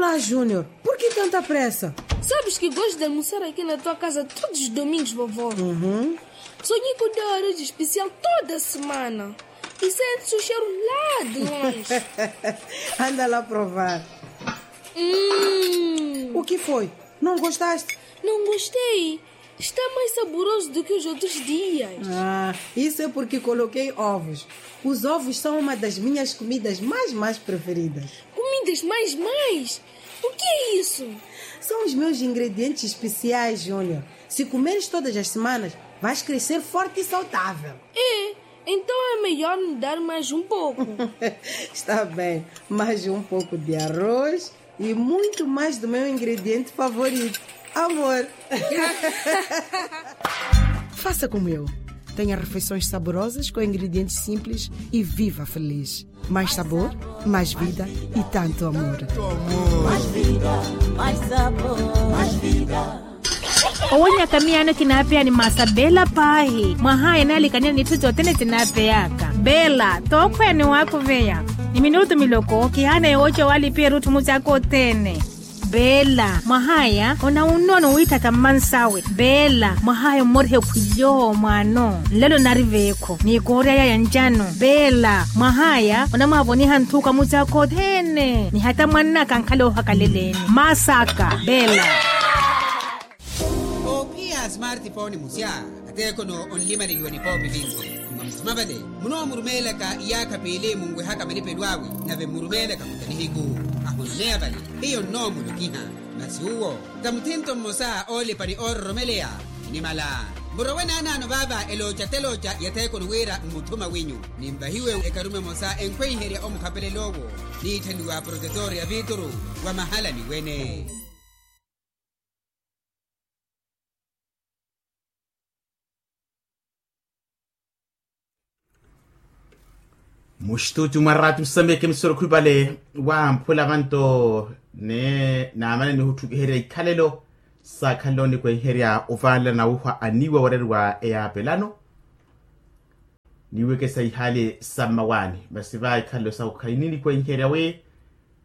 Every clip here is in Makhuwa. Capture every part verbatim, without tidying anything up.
Ah, Júnior, por que tanta pressa? Sabes que gosto de almoçar aqui na tua casa todos os domingos, vovó. Uhum. Sonhei com o teu arroz especial toda semana. E sente-se o cheiro lá de longe. Anda lá provar. Hum. O que foi? Não gostaste? Não gostei. Está mais saboroso do que os outros dias. Ah, isso é porque coloquei ovos. Os ovos são uma das minhas comidas mais, mais preferidas. Comidas mais, mais? O que é isso? São os meus ingredientes especiais, Júnior. Se comeres todas as semanas, vais crescer forte e saudável. É, então é melhor me dar mais um pouco. Está bem, mais um pouco de arroz e muito mais do meu ingrediente favorito, amor. Faça como eu. Tenha refeições saborosas com ingredientes simples e viva feliz. Mais sabor, mais vida e tanto amor. Mais vida, mais sabor, mais vida. Owanyaka miyaano kinaapeya ni masa Bela paahi, mwahaya naalikanela n'itthu sothene sinaapeyaka. Bela, tookhweya ni waakuveya. Ni minutu miloko kihaana yooca walipiya erutthu musaaka othene. Bela, mwahaya onawunnono wiitthaka mmansawe. Bela, mwahaya ommoriha ekhwilyo mwaano nlelo nari veekho ni kooryaya ya ncano. Bela, mwahaya onamwaavoniha nthuka musaaka othene ni hata mwannaka ankhala oohakaleleni. Masaka. Bela. Oophiya smartphone musya, ateekhono onlimaleliwa nipoopi vinci. Mwa musima vale munoomurumeelaka iyaakha piili munwehaka malipelo awe, nave mmurumeelaka muta nihiku ahononeya vale. Hiyo nnoomulokiha. Masi uwo ta muthinto mmosa oolipa ni oororomeleya. Nimala murowe naanaano vaava elooca telooca ya theekoni wira mmuthuma wenyu. Ninvahiwe ekarume emosa enkhweiherya omukhapelel'owo niitthaniwa protetor ya viituru wa mahalani wene. Muxituuti mwa raati musameke musoro khwipale wamphula vanto ne naamana nihuttukiherya ikhalelo saakhalelo nikwenherya ovaalana wuhwa aniwa wareriwa eyaapelano. Niwekesa ihaali sa mmawaani masi va ikhalelo sawo khaini nikwenherya wi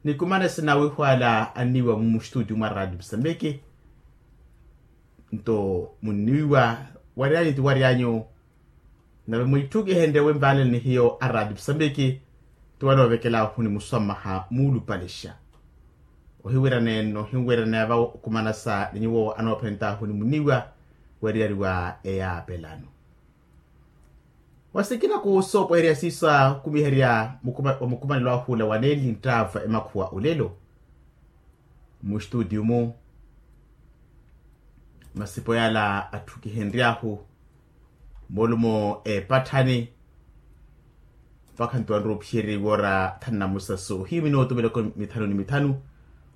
nikumana sinawihwala aniwa mumuxituuti mwa raati musameke. Nto munniwiwa waryanyu ti waryanyu. Nave mwitthukihenrye wi mvaalele ni hiyo araati musambiki ti wanoovekelaahu ni muswammaha muulupalixa. Ohiwirana enno ohiwirana va okumanasa ni nyuwo anoophentaahu ni muniwa weriyariwa eyaapelano. Wasikina kusoopweherya siiso akumiherya wa mukumanelo ahu ula waneli nttaava emakhuwa olelo. Mustutiyu-mu masipo yala atthukihenry'ahu moolumo eepatthani. Mpakha nto wanrowa ophiyerya iwoora thanu na musaso ohiyu minooto miloko mithanu ni mithanu.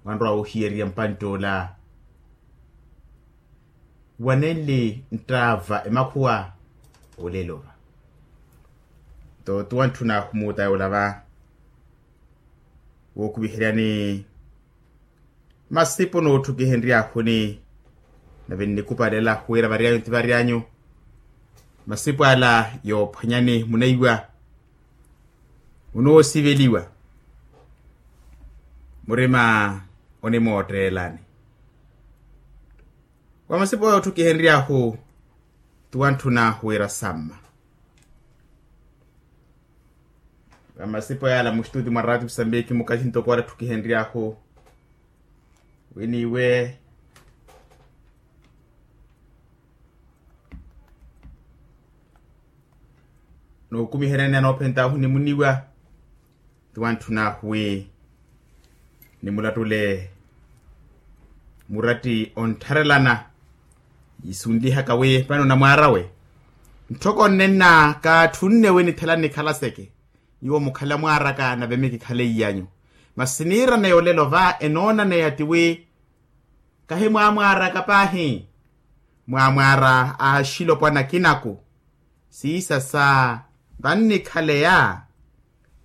Wanrowa wohiyerya mpantt'ola wanenli nttaava emakhuwa olelo va. Nto ti wantthun'ahu muutaya olava wookuviheryani masipo nootthukihenry'ahuni. Nave nnikupalela wira varyanyu ti varyanyu masipo ala yoophwanyani munaiwa munoosiveliwa murima onimootteelani. Wa masipo yootthukihenry'ahu ti wantthuna wira samma. Vamasipo yala muxituti mwa raati musambiki mukathi ntoko wala tthukihenry'ahu wi niiwe nookumiheryani anoophent'ahu ni muniwa. Ti wantthun'ahu wi nimulattule muratti onttharelana yisunlihaka wi vano namwaar'awe ntthoko nnenna kaatthunne wi nithela nnikhala seke. Nyuwo mukhala mwaar'aka nave mikikhale iy'anyu. Masi niirana yolelo va enoonaneya ti wi kahi mwaamwaar'aka paahi. Mwaamwaara aaxilopwana akinaku siisa sa vannikhaleya.